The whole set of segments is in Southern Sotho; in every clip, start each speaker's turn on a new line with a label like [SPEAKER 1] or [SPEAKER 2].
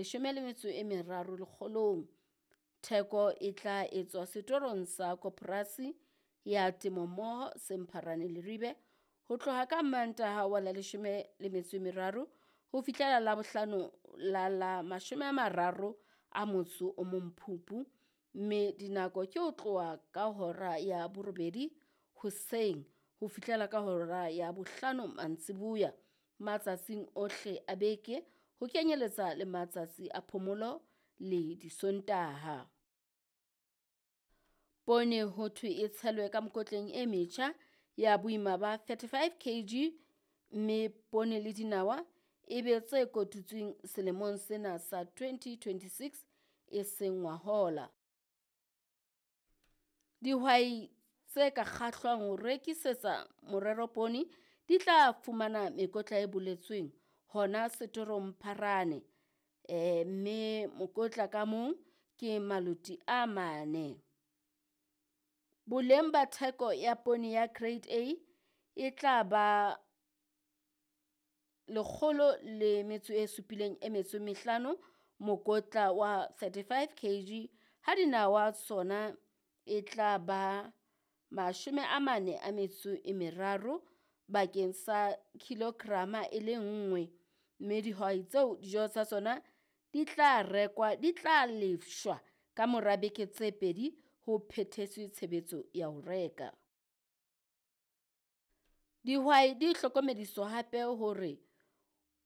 [SPEAKER 1] 13 lekgolong. Theko e tla etswa setorong sa Koporasi ya Temo Mmoho se Mpharane Leribe ho tloha ka Mantaha wa la 13 ho fihlela Labohlano la la 31 Phupu, mme dinako ke ho tloha ka hora ya 8 hoseng ho fihlela ka hora ya 5 mantsiboya matsatsing ohle a beke ho kenyeletsa le matsatsi a phomolo le Disontaha. Poone ho thwe e tshelwe ka mekotleng e metjha ya boima ba 35 kg, mme poone le dinawa e be tse kotutsweng selemong sena sa 2026 e seng ngwahola. Dihwai tse ka kgahlwang ho rekisetsa morero poone di tla fumana mekotla e boletsweng hona setorong Mpharane, mme mokotla ka mong ke maloti a 4. Boleng ba theko ya poone ya Grade A e tla ba 175 mokotla wa 35 kg, ha dinawa tsona e tla ba 43 bakeng sa kilograma e le nngwe, mme dihwai tseo dijo tsa tsona di tla rekwa di tla lefshwa ka mora beke tse 2 ho phethetswe tshebetso ya ho reka. Dihwai di hlokomediswa hape hore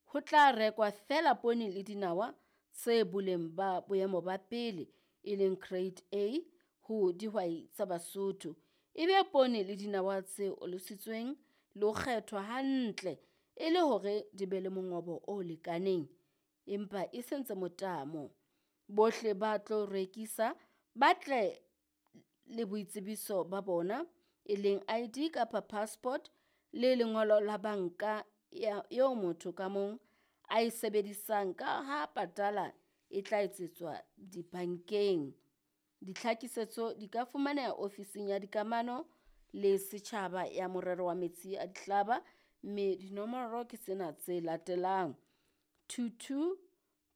[SPEAKER 1] ho tla rekwa feela poone le dinawa tse boleng ba boemo ba pele, e leng Grade A ho dihwai tsa Basotho. E be poone le dinawa tse olositsweng le ho kgethwa hantle e le hore di be le mongobo o lekaneng, empa e seng tse motamo. Bohle ba tlo rekisa ba tle le boitsebiso ba bona, e leng ID kapa passport le lengolo la banka eo motho ka mong a e sebedisang ka ha patala e tla etsetswa dibankeng. Ditlhakisetso di ka fumaneha ofising ya dikamano le setjhaba ya morero wa metsi a dihlaba, mme dinomoro ke tsena tse latelang: 22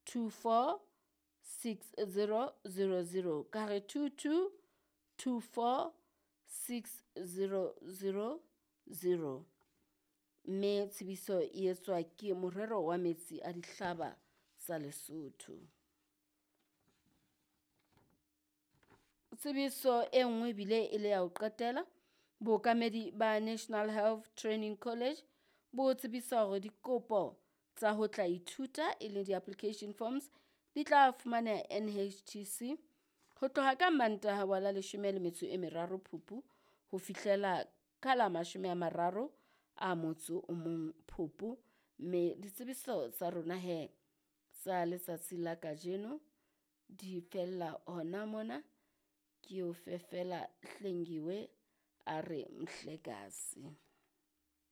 [SPEAKER 1] 24 6000, ka re 22 24 6000, mme tsebiso e etswa ke morero wa metsi a dihlaba tsa Lesotho. Tsebiso e nngwe bile e le ya ho qetela, bookamedi ba National Health Training College bo tsebisa hore dikopo tsa ho tla ithuta e leng di-application forms di tla fumaneha NHTC ho tloha ka Mantaha wa la 13 Phupu ho fihlela ka la 31 Phupu, mme ditsebiso tsa rona he tsa letsatsi la kajeno di fella hona mona. Ke o fefela Hlengiwe a re Mhlekazi.